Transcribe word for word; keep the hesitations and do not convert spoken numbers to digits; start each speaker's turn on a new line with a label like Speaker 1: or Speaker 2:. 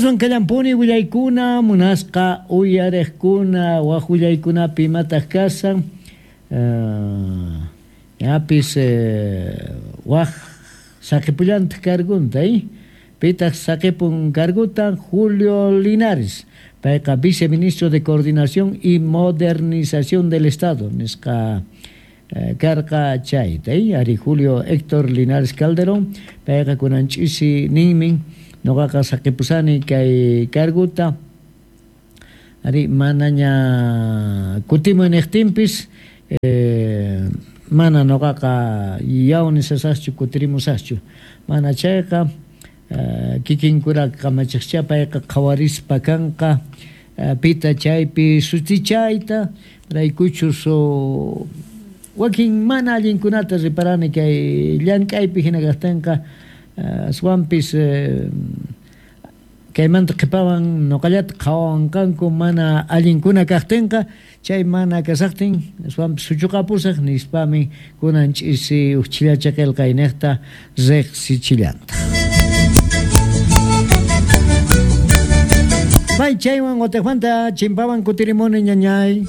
Speaker 1: Aswan kallampuni willaykuna munasqa uyariqkuna waj willaykunapi imataq kasan uh, ñapis eh, waj saqipullantaq cargunta eh? Pitaq saqipun carguta Julio Linares payqa viceministro de Coordinación y Modernización del Estado nisqa eh, karqa chayta eh? Ari Julio Héctor Linares Calderón payqa kunan ch'isi ninmin noqaqa saqipusani kay carguta ari manaña kutimuy niqtinpis eh, mana noqaqa yawnisasaqchu kutirimusaqchu mana chayqa eh, kikinkura kamachiqcha payqa qhawarispa kanqa eh, pita chaypi sutichayta raykuchus o wakin mana allinkunata riparani kay llank'aypi hina kaqtinqa eh, aswanpis eh, kaymanta qhipawan noqallata qhawawanqanku mana allinkuna kaqtinqa chay mana kasaqtin aswanpis suchuqapusaq nispami kunan ch'isi uj chillacha qillqayniqta riqsichillanta. May chaywan watiqmanta chimpawan kutirimuni ñañay.